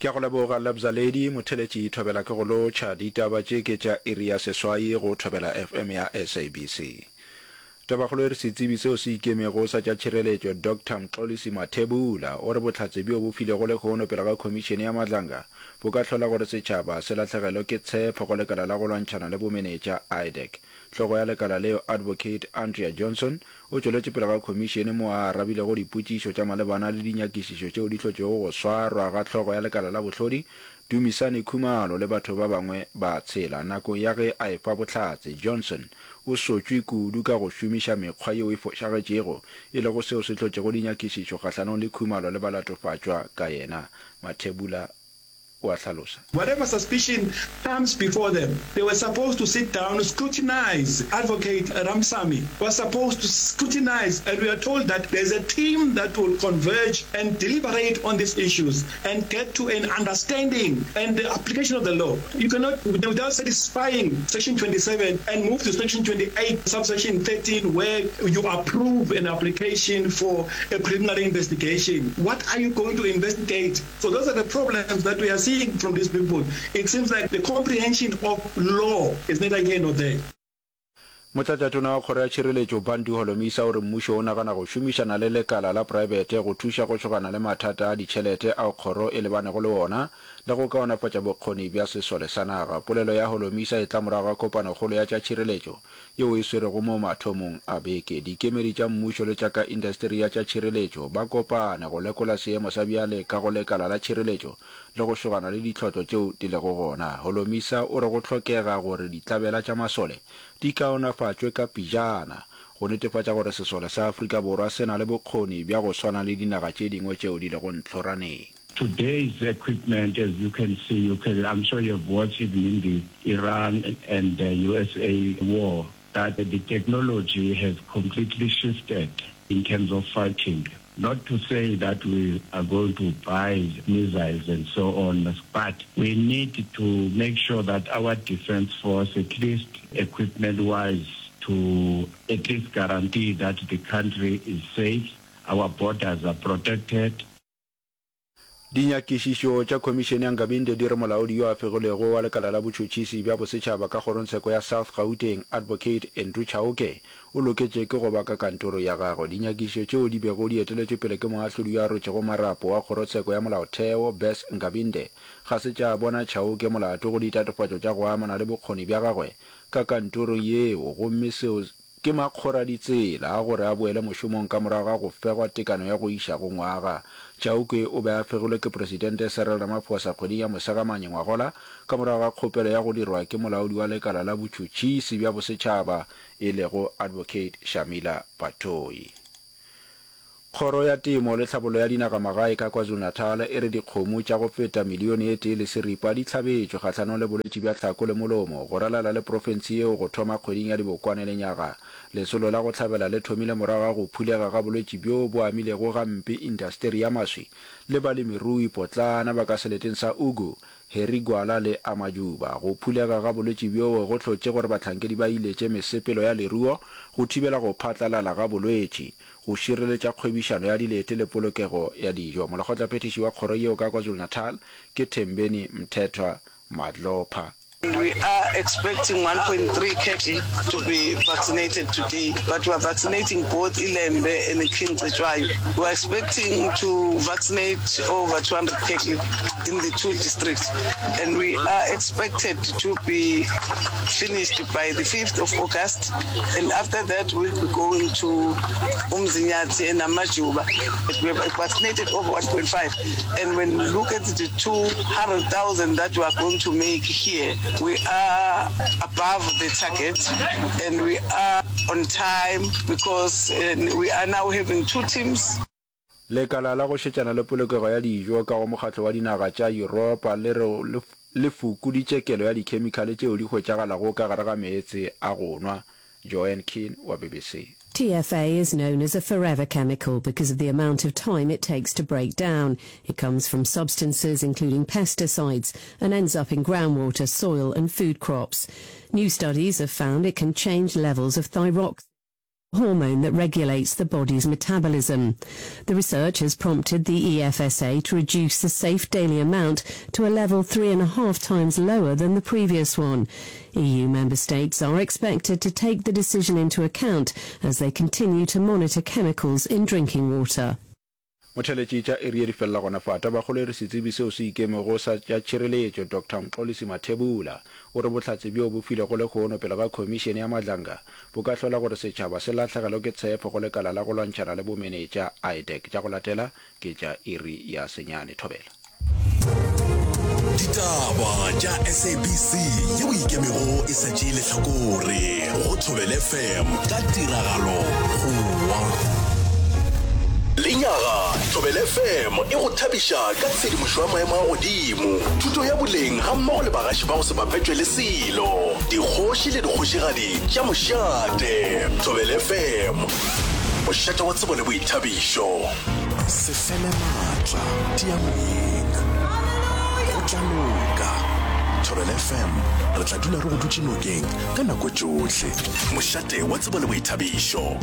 Ke a go leboga Lebza Lady, motheletši Thobela ke go lotšha. Ditaba tše ke tša iri ya seswai go Thobela FM ya SABC. Tabakgolo e re setsebi seo se ikemego sa tša tšhireletšo Doctor Mxolisi Mathebula o re bohlatse bjo bo filego lehono pele ga khomišene ya Madlanga bo ka hlola gore setšhaba se lahlegelwe ke tshepo go lekala la go lwantšhana le bomenetša, IDAC. Hlogo ya lekala leo Advocate Andrea Johnson o tšweletše pele ga khomišene moo a arabilego dipotšišo tša malebana le dinyakišišo tšeo di hlotšego go swarwa ga hlogo ya lekala la bohlodi Dumisani Khumalo le batho ba bangwe ba tshela. Nakong ya ge a efa bohlatse, Johnson o sotšwe kudu ka go šomiša mekgwa yeo e fošagetšego, e lego seo se hlotšego dinyakišišo kgahlanong le Khumalo le balatofatšwa ka yena. Mathebula o a hlalosa. Whatever suspicion comes before them, they were supposed to sit down, scrutinize. Advocate Ramsamy was supposed to scrutinize, and we are told that there's a team that will converge and deliberate on these issues and get to an understanding and the application of the law. You cannot, without satisfying section 27 and move to section 28, subsection 13, where you approve an application for a preliminary investigation. What are you going to investigate? So those are the problems that we are seeing from these people. It seems like the comprehension of law is neither here nor there. Motlatšatona wa Kgoro ya Tšhireletšo Bantu Holomisa o re mmušo o nagana go šomišana le lekala la praebete go thuša go šogana le mathata a ditšhelete ao kgoro e lebanego le ona le go kaonafatša bokgoni bja sesole sa naga. Polelo ya Holomisa e tla morago ga kopanokgolo ya tša tšhireletšo yeo e swerego mo mathomong a beke. Dikemedi tša mmušo le tša ka indasteri ya tša tšhireletšo ba kopane go lekola seemo sa bjale ka go lekala la tšhireletšo le go šogana le ditlhotlo tšeo di lego gona. Holomisa o re go hlokega gore ditlabela tša masole di kaonafatšwe ka pejana go netefatša gore sesole sa Afrika Borwa se na le bokgoni bja go swana le dinaga tše dingwe tšeo di lego ntlhoraneng. Today's equipment as you can see, you can, I'm sure you have watched even in the Iran and the USA war that the technology has completely shifted in terms of fighting. Not to say that we are going to buy missiles and so on, but we need to make sure that our defense force, at least equipment-wise, to at least guarantee that the country is safe, our borders are protected. Dinyakišišo tša Khomišene ya Nkabinde di re molaodi yo a fegilwego wa lekala la botšhotšhisi bja bosetšhaba ka kgorongtsheko ya South Gauteng, Advocate Andrew Chauke, o loketše ke go ba ka kantoro ya gagwe. Dinyakišišo tšeo di bego di eteletšwe pele ke moahlodi yo a rotšego marapo wa kgorotsheko ya molaotheo, Bess Nkabinde, ga se tša bona Chauke molato go ditatofatšo tša go amana le bokgoni bja gagwe ka kantorong yeo gomme seo Ke makgoraditsela a gore a boele mošomong ka morago ga go fegwa tekano ya go iša go ngwaga. Chauke o be a fegilwe ke Presidente Cyril Ramaphosa kgweding ya Mosegamanye ngwagola ka morago ga kgopelo ya go dirwa ke molaodi wa lekala la botšhotšhisi bja bosetšhaba e lego Advocate Shamila Batohi. Kgoro ya Temo le Tlhabollo ya Dinagamagae ka KwaZulu-Natal e re dikgomo tša go feta milione e tee le seripa di hlabetšwe kgahlanong le bolwetši bja tlhako le molomo go ralala le profense yeo go thoma kgweding ya Dibokwane lenyaga. Lesolo la go hlabela le thomile morago ga go phulega ga bolwetši bjo bo amilego gampe indasteri ya maswi le balemirui potlana ba ka seleteng sa Ugu, Harry Gwala le Amajuba. Go phulega ga bolwetši bjoo go hlotše gore bahlankedi ba iletše mesepelo ya leruo go thibela go phatlalala ga bolwetši. go šireletša kgwebišano ya dilete le polokego ya dijo. Molekgotlaphethiši wa kgoro yeo ka KwaZulu-Natal ke Thembeni Mthethwa Madlopha. We are expecting 1.3 cattle to be vaccinated today, but we are vaccinating both Ilembe and King Cetshwayo. We are expecting to vaccinate over 200 cattle in the two districts, and we are expected to be finished by the 5th of August. And after that, we'll be going to Umzinyathi and Amajuba. We have vaccinated over 1.5. And when we look at the 200,000 that we are going to make here, we are above the target and we are on time because uh, we are now having two teams. Lekala la go šetšana le polokego ya dijo ka go Mokgatlo wa Dinaga tša Yuropa le re le fokoditše kelo ya dikhemikhale tšeo di hwetšagalago ka gare ga meetse a go nwa. Joanne Keane wa BBC. TFA is known as a forever chemical because of the amount of time it takes to break down. It comes from substances including pesticides and ends up in groundwater, soil and food crops. New studies have found it can change levels of thyroxine. Hormone that regulates the body's metabolism. The research has prompted the EFSA to reduce the safe daily amount to a level 3.5 times lower than the previous one. EU member states are expected to take the decision into account as they continue to monitor chemicals in drinking water. Motheletši tša iri ye di felela gona fa. Tabakgolo e re setsebi seo se ikemego sa tša tšhireletšo, Doctor Mxolisi Mathebula, o re bohlatse bjo bo filwego lehono pele ga Khomišene ya Madlanga bo ka hlola gore setšhaba se lahlegelwe ke tshepo go lekala la go lwantšhana le bomenetša, IDAC. Tša go latela ke tša iri ya senyane. Thobela. Ditaba tša SABC yeo ikemego e sa tšee lehlakore go Thobela FM ka tiragalo Goa. Lenyaga, Thobela FM e go thabiša ka tshedimošo ya maemo a godimo, thuto ya boleng gammogo le bagaši ba go se bapetšwe le selo, dikgoši le dikgošigadi tša mošate. Thobela FM, mošate wa tsebo le boithabišo. Se fele maatla, tia moyeng. Go tla loka. Thobela FM, re tla dula re go dutše nokeng ka nako tšohle. Mošate wa tsebo le boithabišo.